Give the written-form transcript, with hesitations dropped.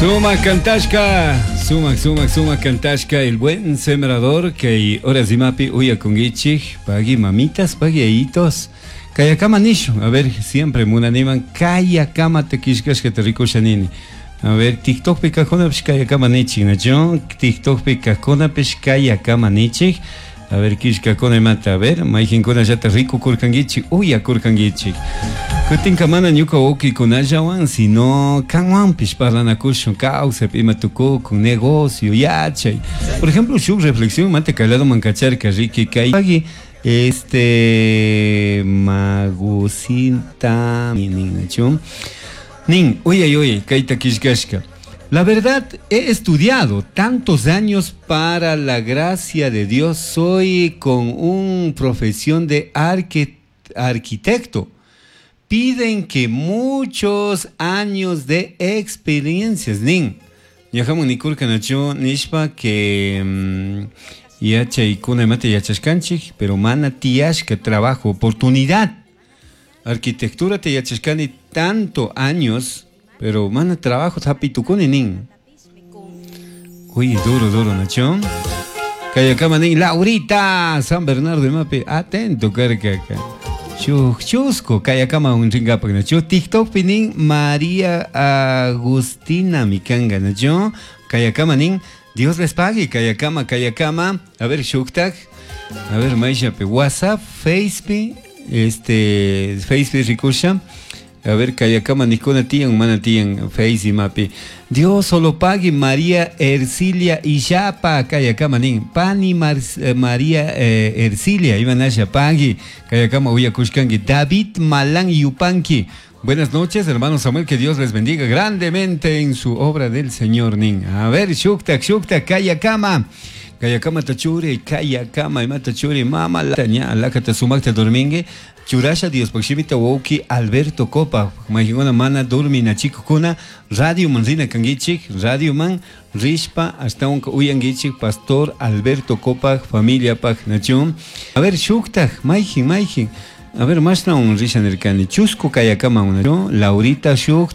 Suma cantashka, suma, suma, suma cantashka, el buen sembrador que horas imapi uyakungichik, pagui mamitas, pagui ayitos. Kayakama nishu, a ver, siempre munaniman kayakama te kishkashka te rikusha nini. A ver, TikTokpi kajkunapish kayakama nichik, nachu? TikTokpi kajkunapish kayakama nichik. A ver, kishkakuna imata, a ver, mayqinkunallata rikukurkankichik, uyakurkankichik. Kutinka mana ñuka wawkikunallawan, sino kanwanpish parlanakushun, kawsaypi ima tukukun, negocio, yachay. Por ejemplo, shuk reflexión manta kay ladoman kacharka, riki kay pagui este magusinta nin, Nin, uyay, uyay, kayta killkashka. La verdad, he estudiado tantos años para la gracia de Dios. Soy con una profesión de arquitecto. Piden que muchos años de experiencias. Nin, ñajamun nikurka nachu nishpa que yachaykuna imata yachashkanchik, pero mana tiyashka trabajo, oportunidad. Arquitectura te yachashkani tanto años, pero mana trabajo hapitukuni nin. Uy, duro, duro, Nacho. Kayakama nin, Laurita, San Bernardo de Mape, atento, carca. Chusco, kayakama un ringapak, Nacho. TikTok pinin María Agustina Mikanga, Nacho. Kayakama nin, Dios les pague, kayakama, kayakama. A ver, shuktak. A ver, maishape, WhatsApp, Facebook, este, Facebook rikusha. A ver, kayakama nikuna tiyan, mana tiyan, Face mapi. Dios solo pague María Ercilia Illapa, kayakama nin. Pani María Ercilia, imanasha pagui. Kayakama uyakushkanki. David Malan Yupanqui. Buenas noches, hermano Samuel, que Dios les bendiga grandemente en su obra del Señor nin. A ver, shuktak, shuktak, kayakama. Kayakama tachuri, kayakama, imata churi, mama la ña, lakata sumakta dormingue. Churasha Dios pakshimita wauki Alberto Copa, mayqinuna mana durmina chikukuna, radio man rina kangichik, radio man rishpa ashtawanka uyangichik, Pastor Alberto Copa, familia pak nachun. A ver, shuktak, mayjin, mayjin. A ver, mashna un risha nirkani, chusku kayakama una, Laurita shuk.